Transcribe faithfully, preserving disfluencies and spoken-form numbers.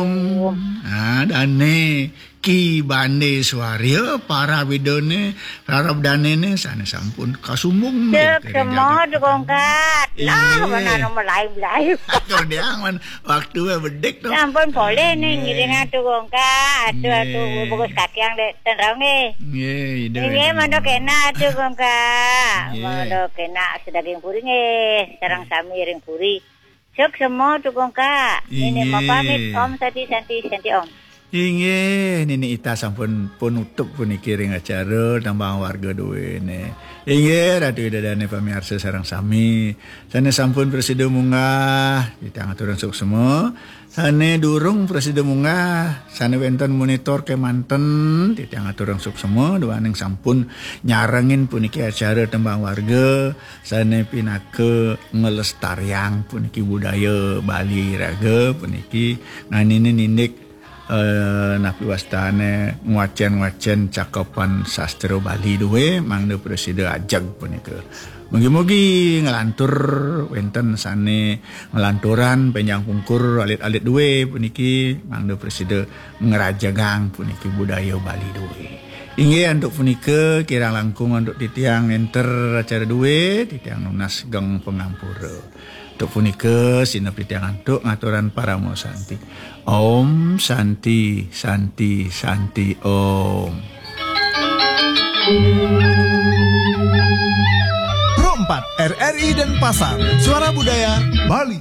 Nah, dane Ki Bande Swarya, para widane, para danene sane sampun kasumbung. Cek semua tukang kat. Lah, mana nomor lain-lain. Atur dia man waktu bedik to. Sampun boleh nih ngiring tukang kat. Aduh, aduh, bagus kaki yang dek tenrong nih. Nggih, Ida. Nggih, mandok enak tukang kat. Mandok enak sedaging puri nggih, sareng sami ring puri. Cek semua tukang kat. Ini mau pamit, Om Santi, Santi, Santi, Om. Inggih, Nini Ita sampun penutup puniki ring acara tembang warga duene. Inggih, Ratu Ida Dane pamiarsa sareng sami. Sane sampun prasida munggah, titiang aturang suksma. Sane durung prasida munggah, sane wenten monitor kemanten, titiang aturang suksma, duaning sampun nyarengin puniki acara tembang warga, sane pinaka ngelestariang puniki budaya Bali raga puniki nganine nindik eh, napi wastane ngwacen-ngwacen cakepan sastra Bali duwe mangda prasida ajeg punika. Mugi-mugi nglantur wenten sane nglanturan penjang pungkur alit-alit duwe puniki mangda prasida ngrajegang puniki budaya Bali duwe. Inggih antuk punika kirang langkung antuk titiang enter acara duwe, titiang nunas geng pangampura. Antuk punika sinep titiang antuk ngaturan parama santi. Om Santi, Santi, Santi Om. Pro empat R R I Denpasar, Suara Budaya Bali.